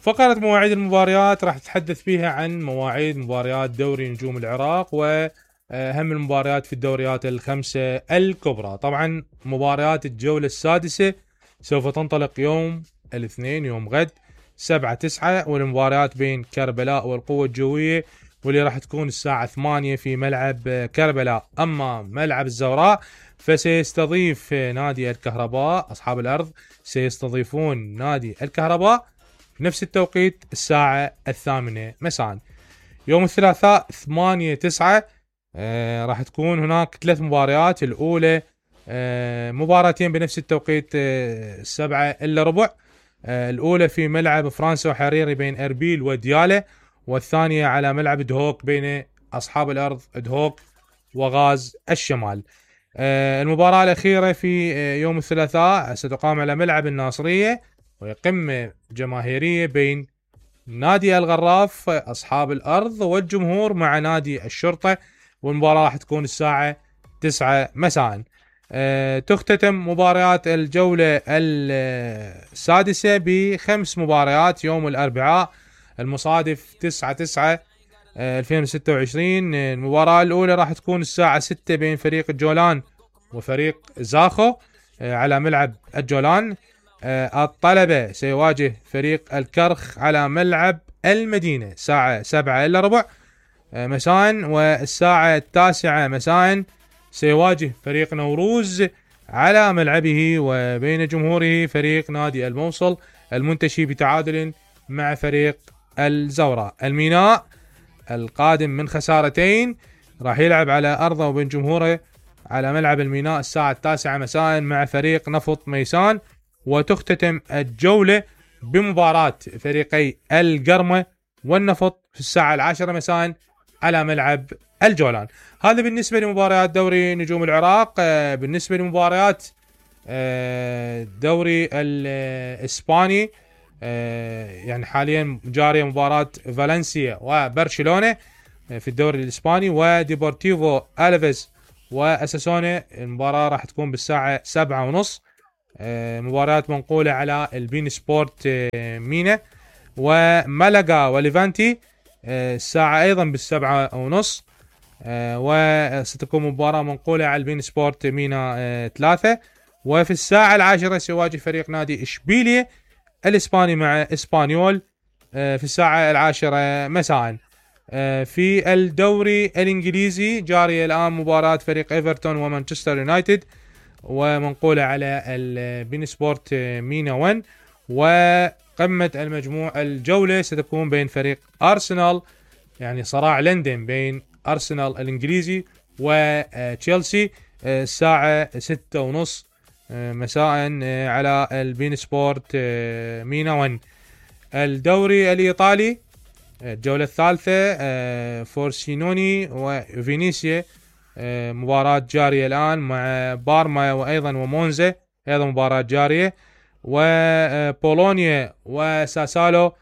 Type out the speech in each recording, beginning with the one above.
فقرة مواعيد المباريات راح نتحدث فيها عن مواعيد مباريات دوري نجوم العراق وأهم المباريات في الدوريات الخمسة الكبرى. طبعا مباريات الجولة السادسة سوف تنطلق يوم الاثنين، يوم غد 7/9، والمباريات بين كربلاء والقوة الجوية واللي راح تكون الساعة 8 في ملعب كربلاء. أما ملعب الزوراء فسيستضيف نادي الكهرباء، أصحاب الأرض سيستضيفون نادي الكهرباء في نفس التوقيت الساعة 8 مساء. يوم الثلاثاء 8/9 راح تكون هناك 3 مباريات. الأولى مباراتين بنفس التوقيت 7:15. الأولى في ملعب فرنسا وحريري بين أربيل وديالة، والثانية على ملعب دهوك بين أصحاب الأرض دهوك وغاز الشمال. المباراة الأخيرة في يوم الثلاثاء ستقام على ملعب الناصرية، وهي قمة جماهيرية بين نادي الغراف أصحاب الأرض والجمهور مع نادي الشرطة، والمباراة راح تكون الساعة 9 مساء. تختتم مباريات الجولة السادسة ب5 مباريات يوم الأربعاء المصادف 9/9/2026. المباراة الأولى راح تكون الساعة 6 بين فريق الجولان وفريق زاخو على ملعب الجولان. الطلبة سيواجه فريق الكرخ على ملعب المدينة الساعة 7:15 مساء، والساعة 9 مساء سيواجه فريق نوروز على ملعبه وبين جمهوره فريق نادي الموصل المنتشي بتعادل مع فريق الزوراء. الميناء القادم من خسارتين راح يلعب على أرضه وبين جمهوره على ملعب الميناء الساعة 9 مساء مع فريق نفط ميسان. وتختتم الجولة بمباراة فريقي القرمة والنفط في الساعة 10 مساء على ملعب الجولان. هذا بالنسبة لمباريات دوري نجوم العراق. بالنسبة لمباريات الدوري الإسباني، يعني حاليا جارية مباراة فالنسيا وبرشلونة في الدوري الإسباني وديبورتيفو ألفيز وأساسونا. المباراة راح تكون بالساعة 7:30. مباريات منقولة على البين سبورت مينا. وملقا وليفانتي الساعة أيضا بال7:30. وستكون مباراة منقولة على البين سبورت مينا 3. وفي الساعة 10 سيواجه فريق نادي إشبيلية الإسباني مع إسبانيول في الساعة 10 مساء. في الدوري الإنجليزي جاري الآن مباراة فريق إيفرتون ومانشستر يونايتد ومنقولة على البين سبورت مينا 1. وقمة المجموع الجولة ستكون بين فريق أرسنال، يعني صراع لندن بين أرسنال الإنجليزي وتشيلسي الساعة 6:30 مساء على البين سبورت مينا 1. الدوري الإيطالي الجولة الثالثة فورسينوني وفينيسيا مباراة جارية الآن مع بارما وأيضا ومونزا أيضا مباراة جارية. وبولونيا وساسالو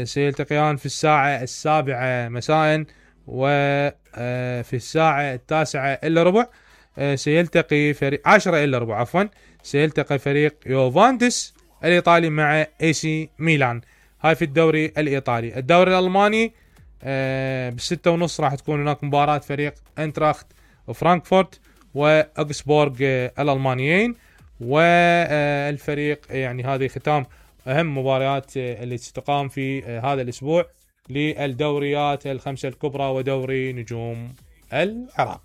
سيلتقيان في الساعة 7 مساء. وفي الساعة 9:15 سيلتقي فريق 10:15 عفوا سيلتقي فريق يوفانتس الإيطالي مع AC ميلان. هاي في الدوري الإيطالي. الدوري الألماني ب6:30 راح تكون هناك مباراة فريق انتراخت وفرانكفورت وأوغسبورغ الألمانيين. والفريق يعني هذه ختام أهم مباريات اللي ستقام في هذا الأسبوع للدوريات الخمسة الكبرى ودوري نجوم العراق.